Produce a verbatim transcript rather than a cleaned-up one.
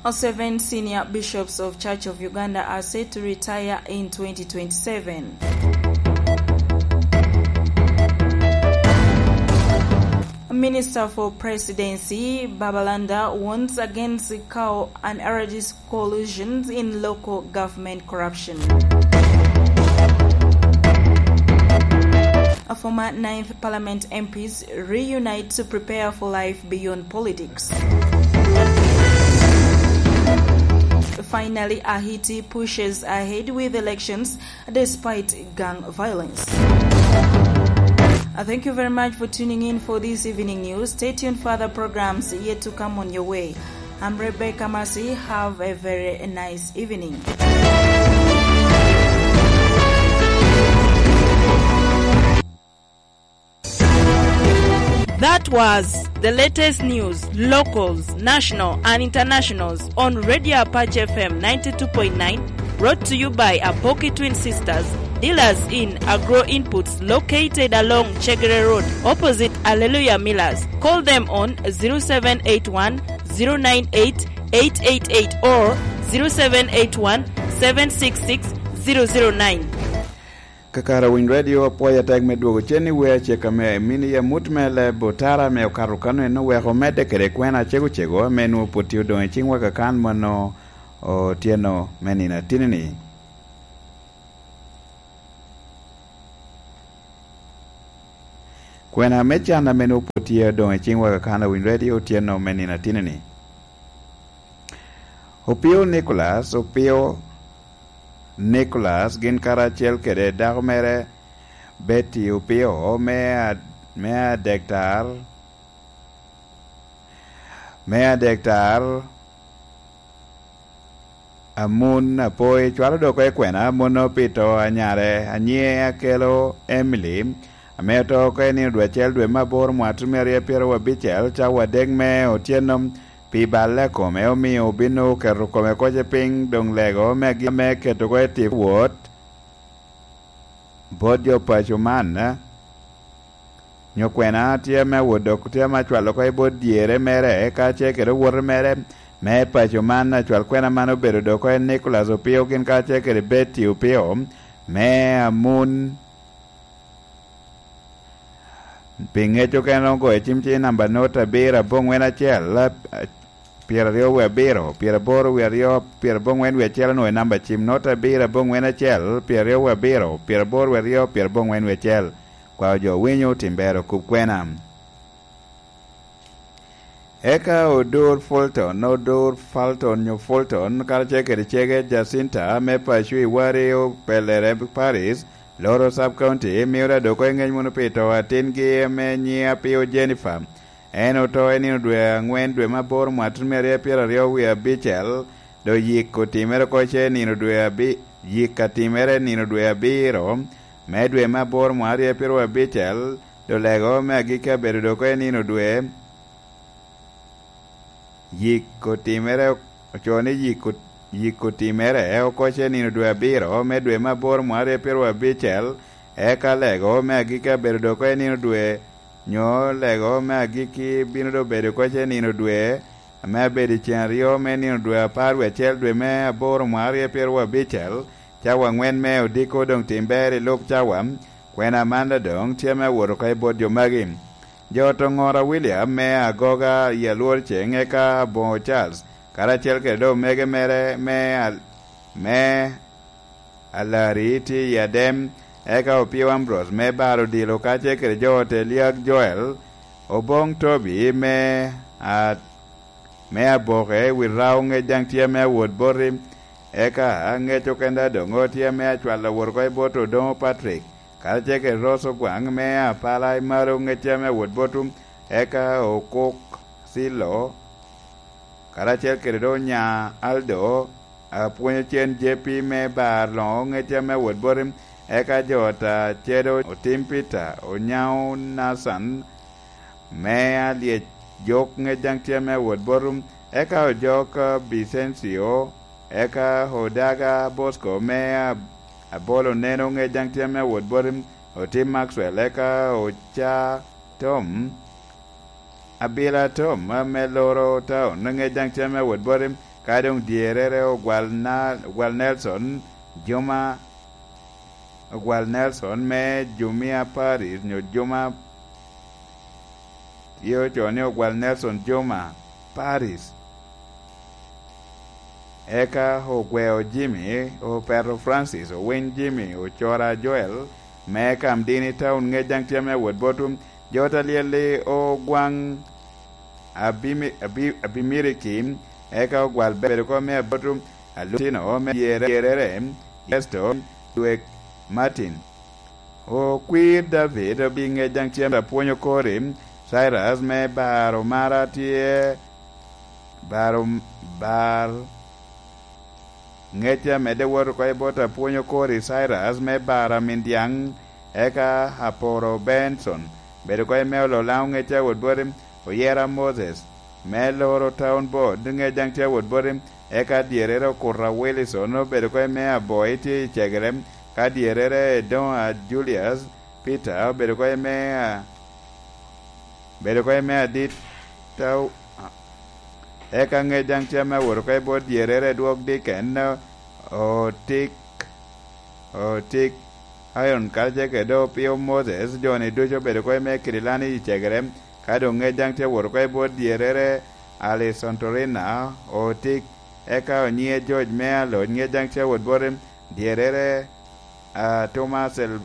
Seven senior bishops of Church of Uganda are set to retire in twenty twenty-seven. Minister for Presidency Babalanda warns against cow and R D C collusions in local government corruption. A former ninth Parliament M Ps reunite to prepare for life beyond politics. Finally, Haiti pushes ahead with elections despite gang violence. Uh, thank you very much for tuning in for this evening news. Stay tuned for other programs yet to come on your way. I'm Rebecca Mercy. Have a very nice evening. That was the latest news, locals, national and internationals, on Radio Apache F M ninety-two point nine, brought to you by Apoki Twin Sisters, dealers in agro inputs located along Chegere Road, opposite Alleluia Millers. Call them on zero seven eight one, zero nine eight, eight eight eight or zero seven eight one, seven six six, zero zero nine. Kakare Winy Radio, apwoyo atek me dwogo cen i wer acek ame mini i amut me leb otara ame okato kano en oweko medde kede kwena acego cego ame nwoŋo pwod tye odoŋ i ciŋwa kakan mano otyeno me nino atini-ni. Kwena me can ame nwoŋo pwod tye odoŋ i ciŋwa kakan Winy Radio otyeno me nino atini-ni. Opio Nicholas, Opio Nicholas, gin karacel kede dako mere Betty Opio, me a-, me adektar, me adektar Amun Apoi, cwalo dok oko i kwena, amono pi to a nyare, a nyiŋe Akelo Emily, ame oto oko i nino dwe acel dwe me aboro mwaka tutumia aryo pyeraryo abicel, cawa adek me otyeno, pi balle a kome, omio obino oketo kome koc i piny, doŋ lego me agik me keto oko i tipo wot bot jo paco man, nyo kwena tye ame awot dok tye ame acwalo oko i bot dyere mere, ka ce kede owote mere me paco man, acwal kwena man obedo dok oko en Nicholas Opio gin ka ce kede Betty Opio, me Amun. Pi ŋec okene, ogoyo cim ci namba not abiro aboŋwen acel, a, pyeraryo wie abiro, pyeraboro wie aryo, pyerabongwen wie acel, onwoŋo i namba cim not abiro aboŋwen acel, pyeraryo wie abiro, pyeraboro wie aryo, pyerabongwen wie acel. Kwao jo winyo, tim ber okub kwena. Eka odur Fulton, odur Fulton nyo Fulton, karacel kede cege Jacinta, me paco i Wari, Opelere Paris, Loro Sub County, mio da dok oko i ŋec munu pi to atingi ame nyiŋe Apio Jennifer. En oto i nino dwe aŋwen dwe me aboro mwaka tutumia aryo pyeraryo wie abicel, dok yik otimere oko ce nino dwe abi-, yik atimere nino dwe abiro me dwe me aboro mwaka aryo pyeraryo abicel, dok lego me agikki abedo dok oko i nino dwe. Yik otimere, ocoo ni yik ot-, yik otimere oko ce nino dwe abiro me dwe me aboro mwaka aryo pyeraryo abicel, eka lego me agikki abedo dok oko i nino dwe, nyo lego me agikki bino dok bedo oko ce nino dwe, ame abedo i cen aryo me nino dwe apar wie acel dwe me aboro mwaka aryo pyeraryo abicel, cawa aŋwen me odiko doŋ tim ber i lub cawa, kwena man adoŋ tye ame awot oko i bot jo magi. Jo ot oŋora William me agoga i alwor ceŋ, eka aboŋo Charles, karacel kede dok omege mere me al-, me alari tye i Adem, eka Opio Ambrose me bar odilo, kacel kede jo ot Eliag Joel, Oboŋ Tobi me a-, me aboke wi rao ŋec daŋ tye ame awot boti, eka ŋec okenda doŋ o tye ame acwalo awot oko i bot Odoŋo Patrick, karacel kede Rose Ogwaŋ me apala i malo ŋec tye ame awot botu, eka Okok Cilo, karacel kede doŋ onya Aldo, apwonyo cen J P me bar loŋo ŋec tye ame awot boti, eka jo ot a Cedo Otim Peter, Onyaŋo Nathan, me alyec jok ŋec daŋ tye ame awot botu, eka ojok Bicencio, eka Odaga Bosco me a-, abolo neno ŋec daŋ tye ame awot botu, Otim Maxwell, eka Oca Tom, Abila Tom, ame loro taun, ŋec daŋ tye ame awot botu, Ka doŋ dyerrere ogwal na, ogwal Nelson, Juma, ogwal Nelson me Jumia Paris, nyo Juma, ye ocoo ni ogwal Nelson Juma Paris. Eka ogweo Jimmy, opeto Francis, owiny Jimmy, ocora Joel, me Kamdini Town, ŋec daŋ tye ame awot botwu. Jo ta lyel-li ogwaŋ Abimi-, Abi-, Abimiriki, eka ogwal bedo kom me aboto alutino me dyerere, Ernesto, Dwek, Martin. Okwir David obi ŋec daŋ cem apwonyo kori, Cyrus me baro mara tye, baro, bar, ŋec amedde wot oko i bot apwonyo kori, Cyrus me baro amin dyaŋ, eka Aporo Benson, bedo oko i me olo Laŋo ŋec awot boti, oyera Moses, me loro Town Board, ŋec daŋ tye awot boti, eka dyerrere Okuta Wilson, obedo oko i me aboi tye i cegere, ka dyerrere Edoŋa Julius Peter, obedo oko i me, a, bedo oko i me adit, Tau-, eka ŋec daŋ tye ame awot oko i bot dyerrere Dwok Diken, Otik, Otik, Iron Kalce kede Opio Moses, jo-ni ducu obedo oko i me Kirilani i cegere, ka doŋ ŋec daŋ tye awot oko i bot dyerrere Alison Torina, Otik, eka Onyiŋe George me Aloc, ŋec daŋ tye awot boti, dyerrere, a, Thomas El-,